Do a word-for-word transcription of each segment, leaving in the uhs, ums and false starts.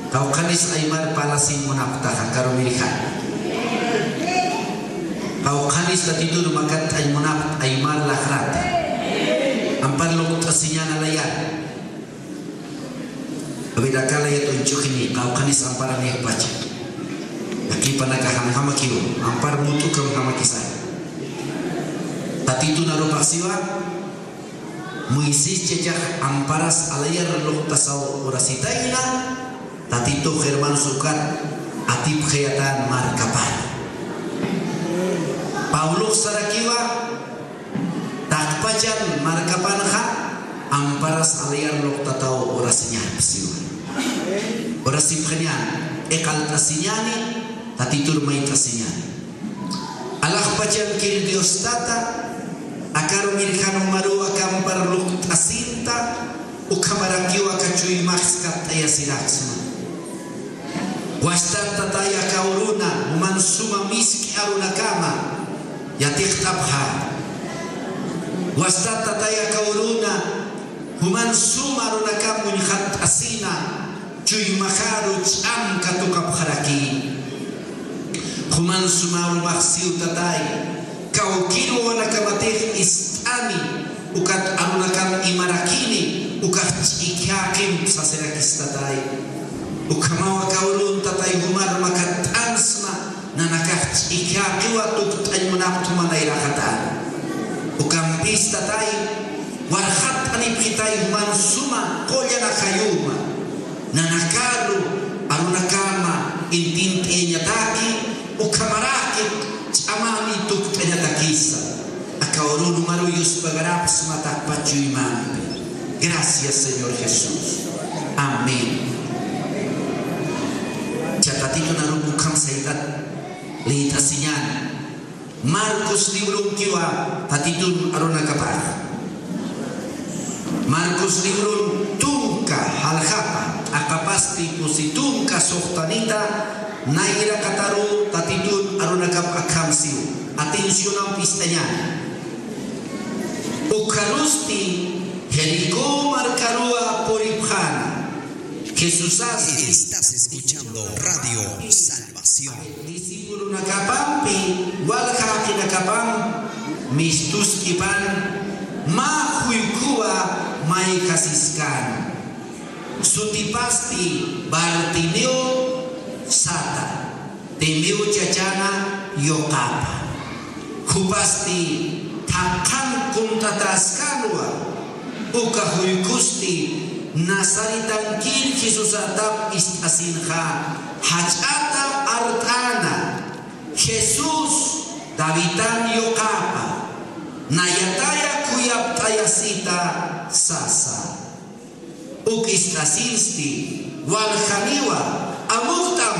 Qawqhanis aymar parlasin munapxtaxa, karumirja. Qawqhanis Tatitun makatt'añ munapxt aymar laqrata. Ampar luqt'asiñäna layar. Awirakalayat uñch'uxini, qawqhanis amparanïxpacha. Akipanaka janjamakiw, ampar mut'ukam jamakisa. Tatitun arupax siwa, Moisés chachax amparas alayar luqtasaw urasitayna, Tatitux hermanos ukat atipxayatän markapan. Pablox sarakiwa, taqpachan markapanxa amparas alayar luqtataw urasiñäni siwa. Urasipxañäni, iqalt'asiñäni, Tatitur mayt'asiñäni. Alaxpachankir Dios Tata, akarumirjan umaruw aka ampar luqt'asinta, ukhamarakiw aka chuymax katt'ayasiraksma. Wastat Tatay, aka uruna juman suma misk'i arunakama yatiqt'apxä. Wastat Tatay, aka uruna juman suma arunakam uñxatt'asina, chuymaxaru ch'am katuqapxaraki. Juman suma arumax siw Tatay, kawkïr wawanakamatix ist'ani, ukat arunakam imarakini, ukax ch'ikhäqimp sasirakis Tatay. Ukhamaw aka urun Tatay jumar makatt'ansma, nanakax ch'ikhäqiwa tukt'añ munapxta juman nayraxatäna. Ukampis Tatay, warxatt'anipxitay juman suma qullan ajayuma. Nanakaru arunakama intint'ayañataki, ukhamaraki ch'amani tukt'añatakisa. Aka urun umaruw yuspagarapxsma taqpach chuymampi. Gracias, Señor Jesús. Amén. Cha Tatitun arup ukham saytat liyt'asiñäni. Marcos librunkiwa Tatitun arunakapax. Marcos librun tunka jaljapa, t'aqapasti pusi tunka suxtanita, nayraqataru Tatitun arunakap akham siw. Atencionamp ist'añäni. Ukharusti Jericó markaruwa puripxäna. Jesusasti. Estás escuchando Radio Salvación. Discipulonakapampi, walja jaqinakapam mistusk'ipan, mä juykhuwa mayjasiskäna. Sutipasti Bartimeo sata, Timeo chachana yuqapa. Jupasti thaqhan kunt'ataskänwa, uka juykhusti Nazaretankir Jesusatap ist'asinxa jach'ata art'äna: "Jesús, Davidan yuqapa, nayataya khuyapt'ayasita", sasa. Uk ist'asinsti, "Waljaniwa, amuktam",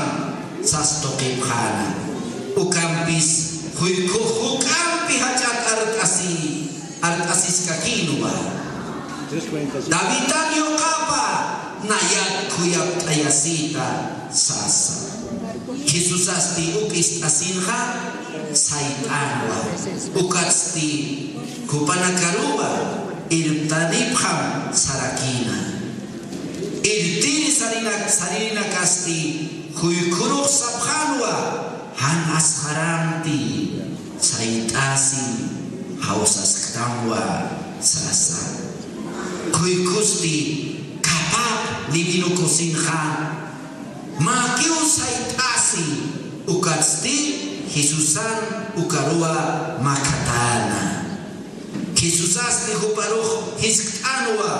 sas tuqipxäna. Ukampis juykhux juk'ampi jach'at art'asi, art'asiskakïnwa: "Davidan yuqapa, nayat khuyapt'ayasita", sasa. Jesusasti uk ist'asinxa sayt'änwa. Ukatsti jupanakaruwa irptanipxam sarakïna. Irptiri sarinak-, saririnakasti juykhurux sapxänwa: "Jan asxaranti, sayt'asin, jawsasktamwa", sasa. Juykhusti: "Kapap, divino kusinxa, mäkiw sayt'asi", ukatsti Jesusan ukaruwa makhatäna. Jesusasti juparux jiskt'änwa.